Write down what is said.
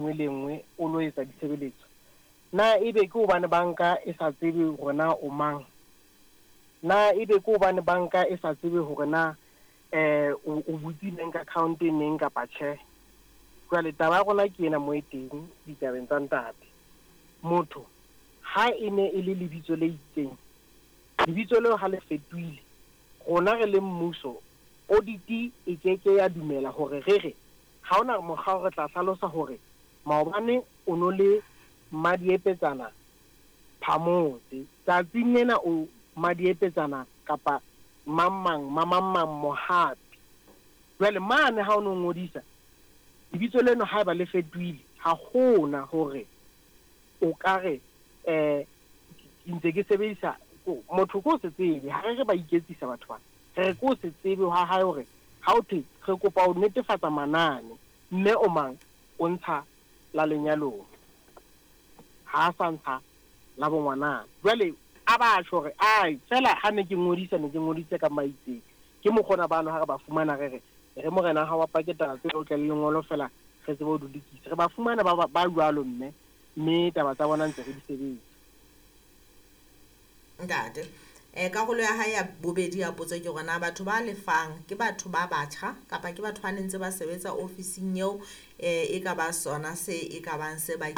Nngwe le nngwe o lo etsa ditshebeletso. Na ebe ke hobane banka e sa tsebe hore na o mang? Na ebe ke hobane banka e sa tsebe hore na o o butse bank account neng kapa tjhe? Jwale taba ya rona ke ena mo e teng ditabeng tsa ntate. Motho ha e ne e le lebitso le itseng, lebitso leo ha le fetohile, rona re le mmuso, audit e ke ke ya dumela hore re re Ha ho na mokgwa re tla hlalosa hore maobane o no le mmadiepetsana Phamotse, tsatsing lena o mmadiepetsana kapa mang-mang, mamang-mang Mohapi. Jwale mane ha o no ngodisa, lebitso leno haeba le fetohile, ha ho na hore o ka re um ke ntse ke sebedisa, motho ke ho se tsebe, ha re re ba iketsisa batho bana. Re re ke ho se tsebe hwa hae hore ha ho thwe re kopa ho netefatsa manane, mme o mang o ntsha la lenyalong, ha a sa ntsha la bongwanana. Jwale a ba tjho hore ai feela ha ne ke ngodisa ne ke ngodisitse ka maitseng. Ke mokgona bano ha re ba fumana re re e re morena hao a pake taba tsena o tle le lengolo feela re tsebe ho di lokisa. Re ba fumana ba ba jwalo mme, mme taba tsa bona ntse re di sebetsa. Ntate, eh, karolo ya hae ya bobedi ya potso ke hore na batho ba lefang ke batho ba batjha kapa ke batho ba ne ntse ba sebetsa ofising eo, eh, e ka ba sona se e ka bang se ba